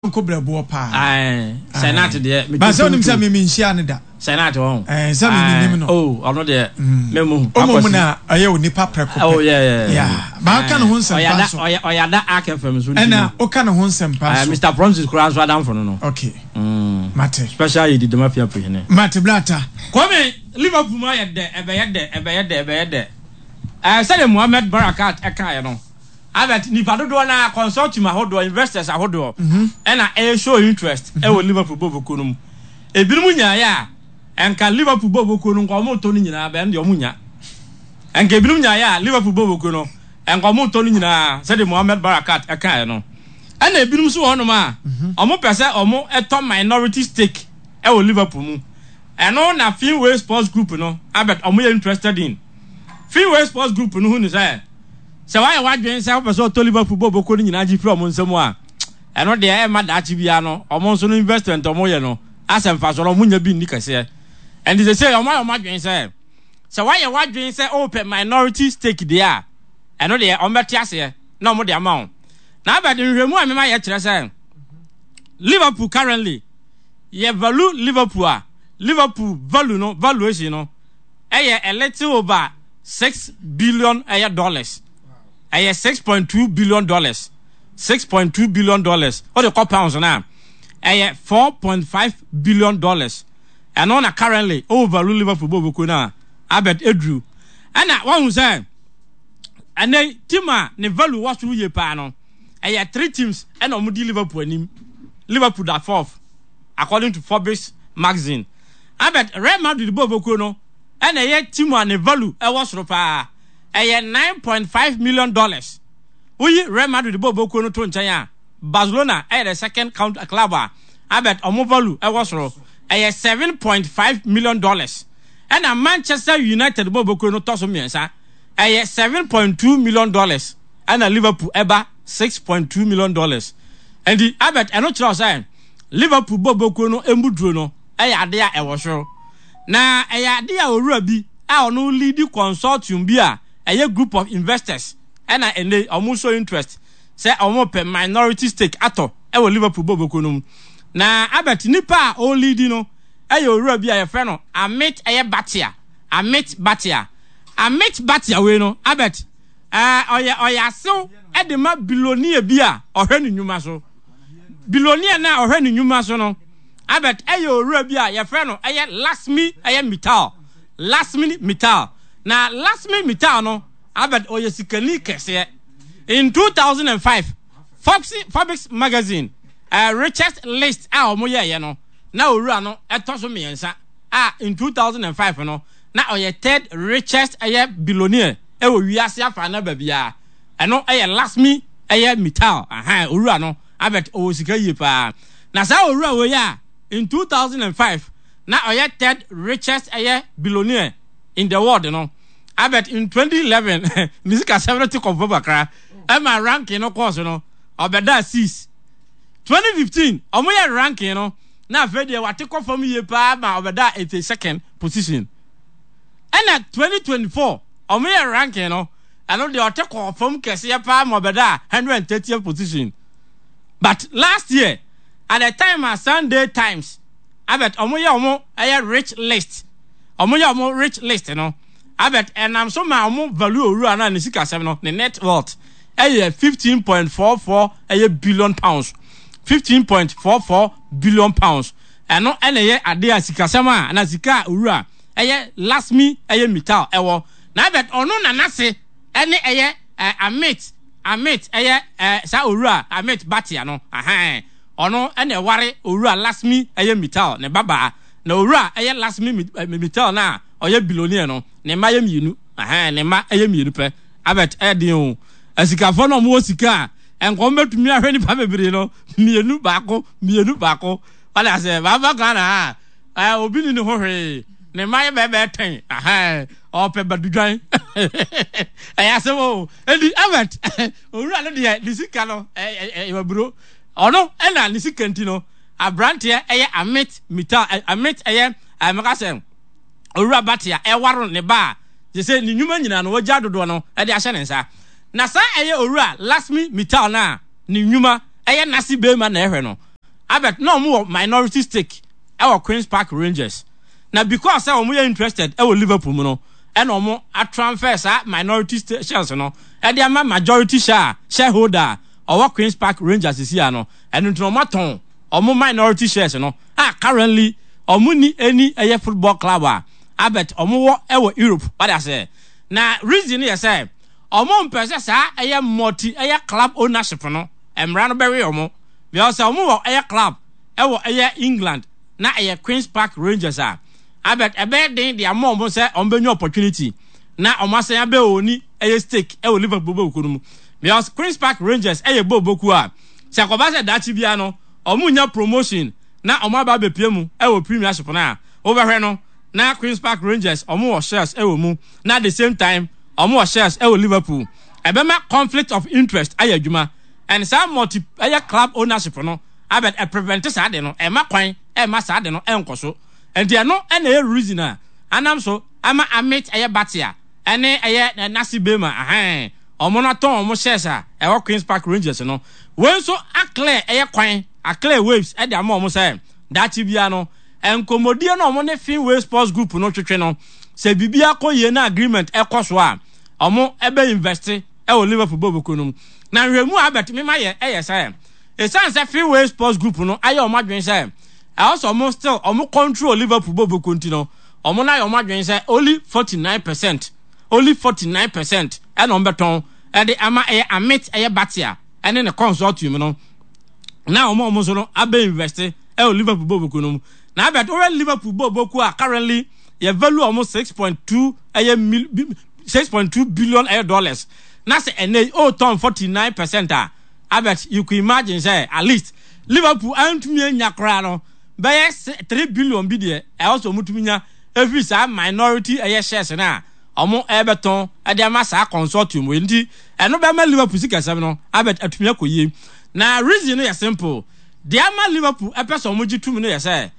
Yɔnko brɛboɔ paa. Ae, Senat deɛ. Ba sɛ onim sɛ me menhyia no da. Senat wɔn. Ɛɛ sɛ me menim no. Oh, ɔno deɛ. Me mu. Ɔmo mu na ɔyɛ onipa prɛko pɛ. Oh yeah yeah. Yeah. Ba ɔka ne ho nsɛmpa nso. Ɔyɛ ɔyada Ark FM nso. Ɛna ɔka ne ho nsɛmpa nso. Mr Promises koraa nso adamfo no no. Okay. Mate. Special yɛ di dɛm afia prihene. Mate Blata. Kwame, Liverpool mu ayɛ dɛ, ɛbɛyɛ dɛ, ɛbɛyɛ dɛ, ɛbɛyɛ dɛ. Ɛɛ sɛdeɛ Mohammed Barakat ɛkaeɛ no. Albert, nnipa dodoɔ no ara, consortium ahodoɔ, investors ahodoɔ ɛna ɛyɛ show interest ɛwɔ Liverpool bɔɔlbɔ kuo no mu. Ebinom nyaeɛ a, ɛnka Liverpool bɔɔlbɔ kuo no nka wɔn retɔ no nyinaa, bɛn deɛ wɔn nnya. Ɛnka ebinom nyaeɛ a, Liverpool bɔɔlbɔ kuo no, ɛnka wɔn retɔ no nyinaa, sɛdeɛ Mohamed Barakat ɛkaeɛ no. Ɛna ebinom nso wɔ hɔnom a, wɔn pɛ sɛ wɔn ɛtɔ minority stake ɛwɔ Liverpool mu. Ɛno na Fenway Sports Group no, Albert, wɔn yɛ interested in. Fenway Sports Group no hu no sɛ, Sɛ woayɛ w'adwene sɛ wopɛ sɛ ɔtɔ Liverpool bɔɔlbɔ kuo no nyinaa gye firi wɔn nsam a, ɛno deɛ ɛmma daakye biara no wɔn nso no investment a wɔyɛ no asɛ mfasoɔ no wɔnnya bi nni kɛseɛ. Ɛnti seesei wɔayɛ wɔn adwene sɛ, sɛ woayɛ w'adwene sɛ wopɛ minority stake deɛ a, ɛno deɛ wɔbɛte aseɛ na wɔde ama wo. Na Albert, nhwehwɛmu a mema yɛ kyerɛ sɛ Liverpool currently, yɛ value Liverpool a, Liverpool value no, valuation no, ɛyɛ a little over $6 billion ɛyɛ dollars. Ɛyɛ $6.2 billion. $6.2 billion. Wode kɔ pounds no a, ɛyɛ $4.5 billion. Ɛno na currently ɔwɔ value Liverpool bɔ bokuo no a Albert eduru. Ɛna wahu sɛ ɛnɛ team a ne value wɔ soro yie paa no, ɛyɛ three teams ɛna wɔn di Liverpool anim. Liverpool da fourth according to Forbes magazine. Albert, Real Madrid bɔ bokuo no ɛna ɛyɛ team a ne value ɛwɔ soro paa. Ɛyɛ $9.5 million. Woyi Real Madrid bɔ bokuo no to nkyɛn a, Barcelona ɛyɛ the second count club a Albert ɔmo value ɛwɔ soro. Ɛyɛ $7.5 million. Ɛna Manchester United bɔ bokuo no tɔ so mmiɛnsa. Ɛyɛ $7.2 million. Ɛna Liverpool ɛba $6.2 million. Ɛnti Albert, ɛno kyerɛ sɛ Liverpool bɔ bokuo no emu duro no ɛyɛ adeɛ a ɛwɔ soro. Na ɛyɛ adeɛ a owura bi a ɔno lead consortium bi a ɛyɛ group of investors ɛna ɛnɛ ɔmo show interest sɛ ɔmo pɛ minority stake atɔ ɛwɔ Liverpool bɔ bokuo no mu. Na Albert, nipa a ɔlead no ɛyɛ owura bi a yɛfrɛ no Amit ɛyɛ Bhatia. Amit Bhatia. Amit Bhatia wei no, Albert, ɛɛ ɔyɛ asew ɛde ma billionaire bi a ɔhwɛ ne nnwuma so. Billionaire na ɔhwɛ ne nnwuma so no, Albert, ɛyɛ owura bi a yɛfrɛ no ɛyɛ Lakshmi ɛyɛ Mittal. Lakshmi Mittal. Na Lakshmi Mittal no, Albert, ɔyɛ sikani kɛseɛ. In 2005, Forbes magazine richest list a wɔn yɛɛyɛ no, na owura no ɛtɔ so mmiɛnsa a in 2005 no na ɔyɛ third richest ɛyɛ billionaire ɛwɔ wiase afa na baabiara. Ɛno ɛyɛ Lakshmi ɛyɛ Mittal. Ahan, owura no, Albert, ɔwɔ sika yie paa. Na saa owura wei a in 2005 na ɔyɛ third richest ɛyɛ billionaire in the world no, Albert, in 2011 ne sika sɛm no te kɔmfam kakra ɛma ranking no kɔɔ so no ɔbɛdaa 6. 2015 ɔmo yɛ ranking no na afei deɛ wate kɔ fam yie paa ma ɔbɛdaa 82nd position. Ɛna 2024 ɔmo yɛ ranking no, ɛno deɛ ɔte kɔɔ fam kɛseɛ paa ma ɔbɛdaa 130th position. But last year at the time a Sunday Times, Albert, ɔmo yɛ ɔmo ɛyɛ rich list, ɔmo yɛ ɔmo rich list no, Albert, ɛnam so ma ɔmo value owura no a ne sikasɛm no, ne net worth ɛyɛ 15.44 ɛyɛ billion pounds, £15.44 billion. Ɛno ɛna ɛyɛ adeɛ a sikasɛm a na sika a owura ɛyɛ Lakshmi ɛyɛ Mittal ɛwɔ. Na Albert, ɔno na n'ase ɛne ɛyɛ Amit ɛyɛ saa owura Amit Bhatia no. Ahan, ɔno ɛna ɛware owura Lakshmi ɛyɛ Mittal ne babaa. Na owura ɛyɛ Lakshmi Mittal na ɔyɛ billionaire no, ne mma yɛ mmienu. Ahan, ne mma ɛyɛ mmienu pɛ. Albert, ɛyɛ den o. Asikafoɔ no a wɔwɔ sika a nkɔm bɛtumi ahwɛ nipa bebree no, mmienu baako, mmienu baako. Wade aseɛ, baaba Ghana ha a, obi ni ne ho hwee. Ne mma yɛ bɛɛbɛɛ tɛn. Ahan, ɔpɛ badudwan. Ɛyɛ asɛm o. Edi Albert, owura no deɛ ne sika no ɛyɛ aburo. Ɔno ɛna ne sika nti no, aberanteɛ ɛyɛ Amit Mittal, Amit ɛyɛ ɛmɛka sɛ owura Bhatia ɛwaro ne ba a, gye sɛ ne nnwuma nyinaa no wagya dodoɔ no ɛde ahyɛ ne nsa. Na saa ɛyɛ owura Lakshmi Mittal no a ne nnwuma ɛyɛ n'ase bɛrima na ɛhwɛ no. Albert na wɔn wɔ minority stake ɛwɔ Queens Park Rangers. Na because sɛ wɔn yɛ interested ɛwɔ Liverpool mu no, ɛna wɔn atransfer saa minority shares no ɛde ama majority share shareholder a ɔwɔ Queens Park Rangers sisi ano. Ɛno nti na wɔn atɔn wɔn minority shares no a currently wɔn ni any ɛyɛ football club a Albert wɔn wɔ ɛwɔ Europe. Wade aseɛ. Na reason no yɛ sɛ wɔn mpɛ sɛ saa ɛyɛ multi ɛyɛ club ownership no mmara no bɛwe wɔn because sɛ wɔn wɔ ɛyɛ club ɛwɔ ɛyɛ England na ɛyɛ Queens Park Rangers a Albert ɛbɛyɛ den de ama wɔn sɛ wɔn bɛnya opportunity na wɔn asan abɛ oni ɛyɛ stake ɛwɔ Liverpool bɔɔlkuo no mu because Queens Park Rangers ɛyɛ bɔɔlkuo a sɛ kɔba sɛ daakye biara no wɔn nya promotion na wɔn aba abɛpie mu ɛwɔ Premiership no a wobɛhwɛ no na Queens Park Rangers wɔn wɔ shares ɛwɔ mu na at the same time wɔn wɔ shares ɛwɔ Liverpool ɛbɛma conflict of interest ayɛ adwuma and saa multi ɛyɛ club ownership no abɛ ɛprevent saa de no ɛma kwan ɛma saa de no ɛnkɔ so nti ɛno ɛna ɛyɛ reason a anam so ama Amit ɛyɛ Bhatia ɛne ɛyɛ Nasi Bema ahɛn wɔn no atɔn wɔn shares a ɛwɔ Queens Park Rangers no wei nso aclear ɛyɛ kwan aclear waves ɛde ama wɔn sɛ daakye bia no nkɔmmɔdie no wɔn ne Fenway Sports Group no twetwe no sɛ biribi akɔ yie na agreement ɛkɔ so a wɔn ɛbɛ invest ɛwɔ Liverpool bɔɔlkuo no mu na nhwɛmu a Albert mema yɛ ɛyɛ sɛ ɛsiane sɛ Fenway Sports Group no ayɛ wɔn adwene sɛ ɛwɔ sɛ wɔn still wɔn control Liverpool bɔɔlkuo nti no wɔn no ayɛ wɔn adwene sɛ only 49% only 49% ɛna wɔn bɛtɔn ɛde ama ɛyɛ Amit ɛyɛ Bhatia ɛne ne consortium no na wɔn a wɔn nso no abɛ invest ɛwɔ Liverpool bɔɔlkuo no mu na Albert wɔyɛ Liverpool bɔɔlkuo a currently yɛ value wɔn 6.2 ɛyɛ mil 6.2 billion ɛyɛ dollars na sɛ ɛnɛ yi ɔretɔn 49% a Albert you could imagine sɛ at least Liverpool antumi anya koraa no bɛyɛ 3 billion bi deɛ ɛwɔ sɛ wɔn tumi nya efiri saa minority ɛyɛ shares no a wɔn ɛbɛtɔn ɛde ama saa consortium wei nti ɛno bɛma Liverpool sikasɛm no Albert atumi akɔ yie na reason no yɛ simple deɛ ama Liverpool ɛpɛ sɛ wɔn gye tum no yɛ sɛ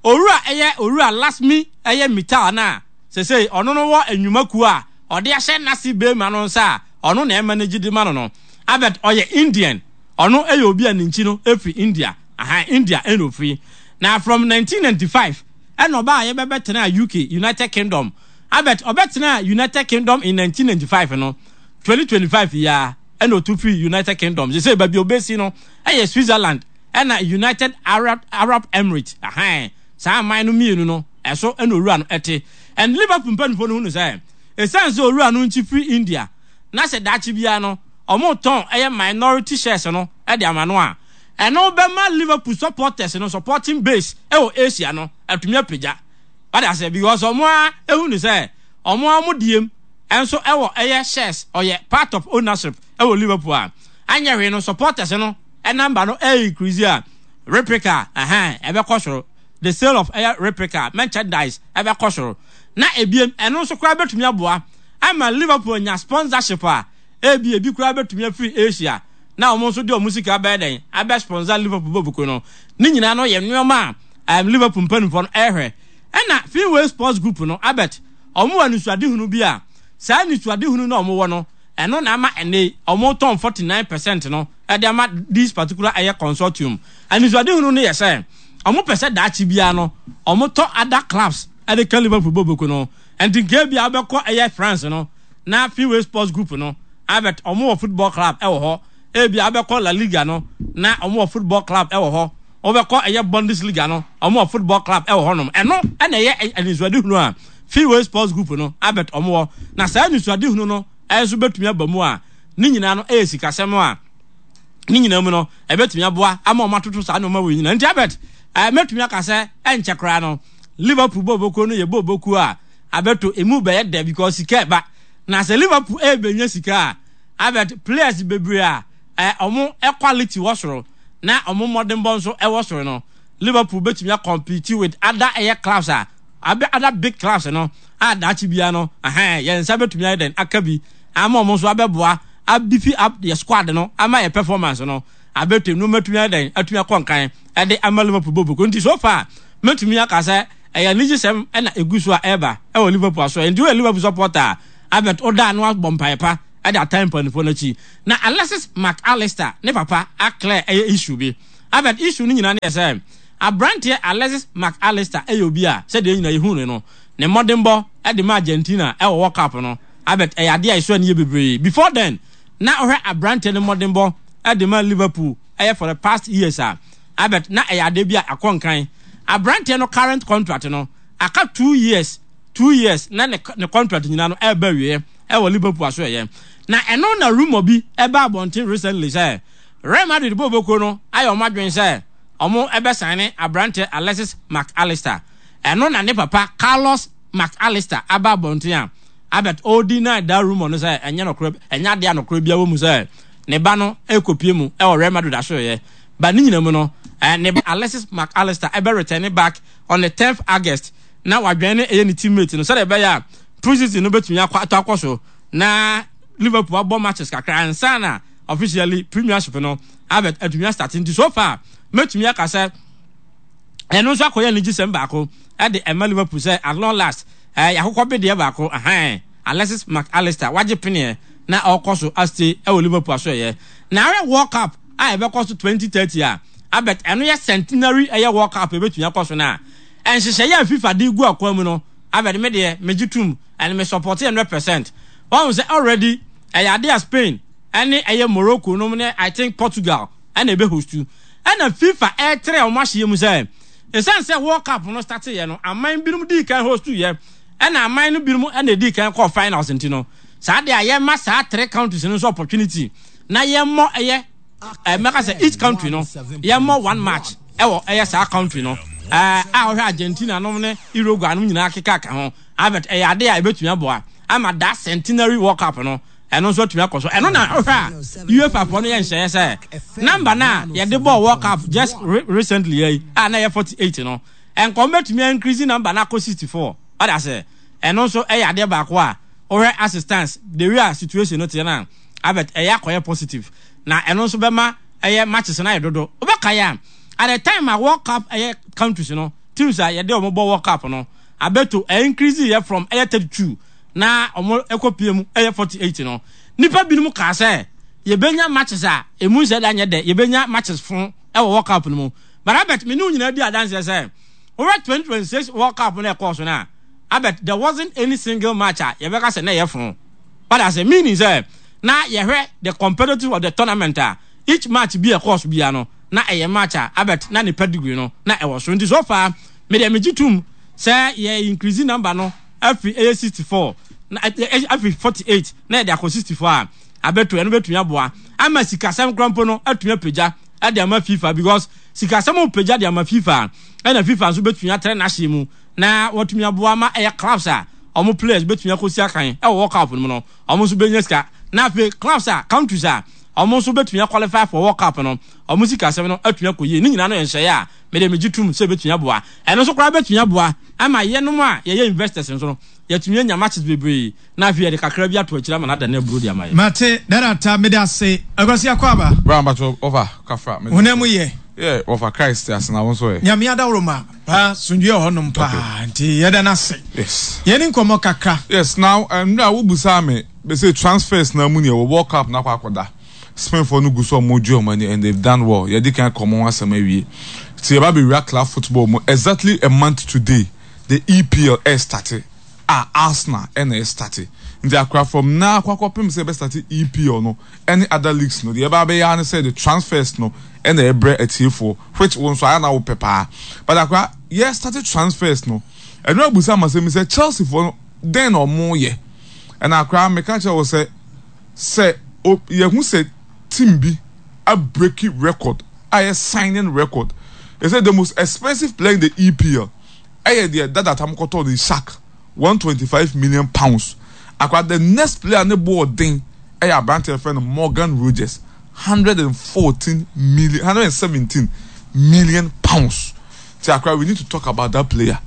owura ɛyɛ owura Lasmi ɛyɛ Mittal na sesei ɔno no wɔ nnwumakuo a ɔde ahyɛ Nasi Bema no nsa a ɔno na ɛma no gye di ma no no. Albert ɔyɛ Indian. Ɔno yɛ obi a ne nkyi no firi India. Aha, India ɛna ofiri. Na from 1995 ɛna ɔbaa a yɛbɛbɛtenaa UK, United Kingdom. Albert ɔbɛtenaa United Kingdom in 1995 no, 2025 yi ara ɛna otu firi United Kingdom. Sesei baabi a obesi no ɛyɛ Switzerland ɛna United Arab, Arab Emirates. Aha, saa aman no mmienu no ɛso ɛna owura no ɛte. And Liverpool mpanimfoɔ no hunu sɛ ɛsiane sɛ owura no nkyi firi India na sɛ daakye biara no wɔretɔn ɛyɛ minority shares no de ama no a, ɛno bɛma Liverpool supporters no supporting base ɛwɔ Asia no atumi apagya. Wade aseɛ because wɔn a ehu no sɛ wɔn a wɔn diem nso ɛwɔ ɛyɛ shares ɔyɛ part of ownership ɛwɔ Liverpool a anyɛ hwee no supporters no number no ɛyɛ increase a replica ɛhɛn ɛbɛkɔ soro the sale of ɛyɛ replica merchandise ɛbɛkɔ soro na ebiem ɛno nso koraa bɛtumi aboa ama Liverpool anya sponsorship a ebi ebi koraa bɛtumi afiri Asia na wɔn nso de wɔn sika bɛyɛ dɛn abɛ sponsor Liverpool bɔbuku no ne nyinaa no yɛ nneɛma a Liverpool mpanimfoɔ no ɛrehwɛ ɛna Fenway Sports Group no Albert wɔn wɔ anisoadehunu bi a saa anisoadehunu no a wɔn wɔ no ɛno na ama ɛnɛ wɔn tɔn 49% no ɛde ama this particular ɛyɛ consortium anisoadehunu no yɛ sɛ wɔn pɛ sɛ daakye biara no wɔn tɔ other clubs ɛde ka Liverpool bɔbuku no nti nka ebi a wobɛkɔ ɛyɛ France no na Fenway Sports Group no Albert wɔn wɔ football club ɛwɔ hɔ ebi a wobɛkɔ La Liga no na wɔn wɔ football club ɛwɔ hɔ wobɛkɔ ɛyɛ Bundesliga no wɔn wɔ football club ɛwɔ hɔnom ɛno ɛna ɛyɛ anisoadehunu a Fenway Sports Group no Albert wɔn wɔ na saa anisoadehunu no ɛnso bɛtumi aba mu a ne nyinaa no ɛyɛ sikasɛm a ne nyinaa mu no ɛbɛtumi aboa ama wɔn atoto saa nneɛma wɔ nyinaa nti Albert ɛɛ mɛtumi aka sɛ ɛnkyɛ koraa no Liverpool bɔɔlbɔkuo no yɛ bɔɔlbɔkuo a abɛto emu bɛyɛ dɛ because sika ɛba na sɛ Liverpool ɛrebɛnya sika a abɛt players bebree a ɛ ɔmo quality wɔ soro na ɔmo mmɔdenbɔ nso ɛwɔ soro no Liverpool bɛtumi akɔmpete with other ɛyɛ clubs a abɛ other big clubs no a daakye bia no ɛhɛn yɛn nsa bɛtumi ayɛ dɛn aka bi ama ɔmo nso abɛboa abifi up yɛ squad no ama yɛ performance no abɛtɛ nneɛma atumi ayɛ dɛn atumi akɔ nkan ɛde ama Liverpool bɔ boko nti so far mɛtumi aka sɛ ɛyɛ anigyesɛm ɛna egu so a ɛreba ɛwɔ Liverpool aso nti woyɛ Liverpool supporter a Albert ɔda ano abɔ mpaeɛ pa ɛde atan mpanimfoɔ no akyi na Alexis Mac Allister ne papa aclear ɛyɛ issue bi. Albert, issue no nyinaa ne yɛ sɛ, aberanteɛ Alexis Mac Allister yɛ obi a sɛdeɛ yɛn nyinaa yɛhu no no, ne mmɔdenbɔ de ma Argentina wɔ World Cup no, Albert, ɛyɛ adeɛ a ɛsɔ ani yie bebree. Before then, na wohwɛ aberanteɛ no mmɔdenbɔ de ma Liverpool ɛyɛ for the past years a, Albert, na ɛyɛ adeɛ bi a akɔ nkan. Aberanteɛ no current contract no, aka 2 years, 2 years na ne contract nyinaa no ɛreba awieɛ ɛwɔ Liverpool aso ɛyɛ. Na ɛno na rumour bi ɛba abɔnten recently sɛ Real Madrid bɔɔlbɔkuo no ayɛ wɔn adwene sɛ wɔn ɛbɛsign aberanteɛ Alexis Mac Allister. Ɛno na ne papa Carlos Mac Allister aba abɔnten a Albert ɔredeny that rumour no sɛ ɛnyɛ nokorɛ, ɛnyɛ adeɛ a nokorɛ biara wɔ mu sɛ ne ba no ɛrekɔpie mu ɛwɔ Real Madrid asoɛeɛ. But ne nyina mu no, ne ba Alexis Mac Allister ɛbɛ return back on the 10th August na wadwɛn ne ɛyɛ ne teammate no sɛdeɛ ɛbɛyɛ a pre-season no bɛtumi akɔ atɔ akɔ so na Liverpool abɔ matches kakra ansa na officially Premiership no Albert atumi astart. Nti so far mɛtumi aka sɛ ɛno nso akɔyɛ anigyesɛm baako ɛde ɛma Liverpool sɛ at long last yɛakokɔ bedeɛ baako ahan Alexis Mac Allister wagye peneɛ na ɔkɔ so astay ɛwɔ Liverpool aso ɛyɛ. Na awɛ World Cup a ɛbɛkɔ so 2030 a, Albert, ɛno yɛ centenary ɛyɛ World Cup ɛbɛtumi akɔ so no a, nhyehyɛeɛ a FIFA de gu akwan mu no, Albert, me deɛ megye tom and me support 100%. Wahu sɛ already ɛyɛ adeɛ a Spain ɛne ɛyɛ Morocco nom ne I think Portugal ɛna ɛbɛ host. Ɛna FIFA ɛretrɛ wɔn ahyeɛ mu sɛ ɛsiane sɛ World Cup no starteeɛ no aman binom dii kan host yɛ ɛna aman no binom ɛna ɛdii kan kɔɔ finals nti no saa deɛ a yɛma saa three countries no nso opportunity na yɛmmɔ ɛyɛ mɛka sɛ each country no yɛmmɔ one match ɛwɔ ɛyɛ saa country no a wɔhwɛ Argentina nom ne Uruguay nom nyinaa keka ka ho. Albert, ɛyɛ ade a ɛbɛtumi aboa ama that centenary World Cup no ɛno nso atumi akɔ so. Ɛno na wohwɛ a UEFA foɔ no yɛ nhyɛeɛ sɛ number no a yɛde bɔɔ World Cup just recently yi a na ɛyɛ 48 no, ɛnka wɔn bɛtumi increase number no akɔ 64. Ɔda sɛ ɛno nso ɛyɛ adeɛ baako a wohwɛ assistance the way a situation no teɛ no a, Albert, ɛyɛ akɔyɛ positive na ɛno nso bɛma ɛyɛ matches no ayɛ dodo. Wobɛkae a at the time a World Cup ɛyɛ countries no teams a yɛde wɔn bɔ World Cup no abɛto ɛ increase yɛ from ɛyɛ 32 na wɔn ɛkɔ pie mu ɛyɛ 48 no, nipa binom kaa sɛ yɛbɛnya matches a emu nsɛ da nyɛ dɛ, yɛbɛnya matches fo ɛwɔ World Cup no mu. But Albert, me ne wo nyinaa di adanseɛ sɛ wɔwɛ 2026 World Cup no ɛkɔɔ so no a, Albert, there wasn't any single match a yɛbɛka sɛ na ɛyɛ fo. But as a meaning sɛ na yɛhwɛ the competitive of the tournament a, each match bi a ɛkɔɔ so biara no na ɛyɛ match a, Albert, na ne pedigree no na ɛwɔ so. Nti so far me deɛ megye tom sɛ yɛ increase number no afiri ɛyɛ 64 na afiri 48 na yɛde akɔ 64 a, abɛto ɛno bɛtumi aboa ama sikasɛm koraa mpo no atumi apagya de ama FIFA, because sikasɛm pagya de ama FIFA ɛna FIFA nso bɛtumi atrɛ n'ahyeɛ mu na wɔatumi aboa ma ɛyɛ clubs a wɔn players bɛtumi akɔsi akan ɛwɔ World Cup no mu no, wɔn nso bɛnya sika, na afei clubs a countries a wɔn nso bɛtumi aqualify for World Cup no, wɔn sikasɛm no atumi akɔ yie. Ne nyinaa no yɛ nhyɛeɛ a mede megye tom sɛ ɛbɛtumi aboa. Ɛno nso koraa bɛtumi aboa ama yɛnom a yɛyɛ investors nso no yɛatumi anya matches bebree na afei yɛde kakra bi ato akyire ama no adane aburo de ama yɛn. Mate, Dada Ta, meda ase. Akwasi Akwaaba. Bra mpacho wɔfa kafra. Honam mu yɛ. Yeah, wɔfa Christ te ase na wo nso ɛ. Nyame adaworoma paa, asomdwoeɛ wɔ hɔnom paa, nti yɛda no ase. Yes. Yɛne nkɔmmɔ kakra. Yes, now mmerɛ a wobusaa me bɛsɛ transfers na mu neɛ wɔ World Cup no akɔ akɔda. Spainfoɔ no gu so a wɔregye wɔn ani and they've done well. Yɛadi kan aka wɔn ho asɛm awie. Nti yɛba abɛwura club football mu exactly a month today the EPL ɛrestate a Arsenal na ɛrestate. Nti akora from now akɔ akɔpem sɛ yɛbɛstate EPL no ɛne other leagues no deɛ yɛba abɛyɛ ara ne sɛ the transfers no ɛna ɛbrɛ atiefoɔ which wo nso ayɛ na wopɛ paa. But akora yɛrestate transfers no ɛno abusa ama sɛm sɛ Chelseafoɔ no dɛn na wɔyɛ? Ɛna akora meka kyerɛ wo sɛ Sɛ o yɛhu sɛ team bi abreaki record a ɛyɛ signing record, they say the most expensive player in the EPL ɛyɛ deɛ dada tam kɔtɔɔ no Isak, £125 million. Akora the next player ne bo ɔden ɛyɛ aberanteɛ yɛfrɛ no Morgan Rogers, 114 million, £117 million. Ti akora we need to talk about that player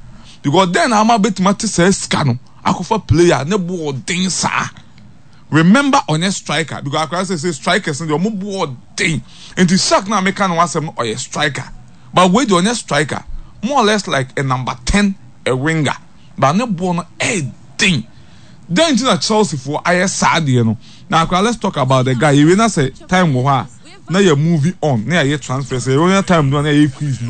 because then ama betumi ate saa sika no akɔfa player ne bo ɔden saa. Remember ɔnyɛ striker because akora sɛ sɛ strikers no deɛ ɔmo bo ɔden nti Shark na meka ne ho asɛm no ɔyɛ striker but wei deɛ ɔnyɛ striker, more or less like a number 10, a winger, but ne boɔ no ɛɛden. Dɛn nti na Chelsea foɔ ayɛ saa deɛ no? Na akora let's talk about the guy. Yɛwie na sɛ time wɔ hɔ a. na yɛ moving on na yɛayɛ transfers. Yɛnya time no a na yɛayɛ quiz no.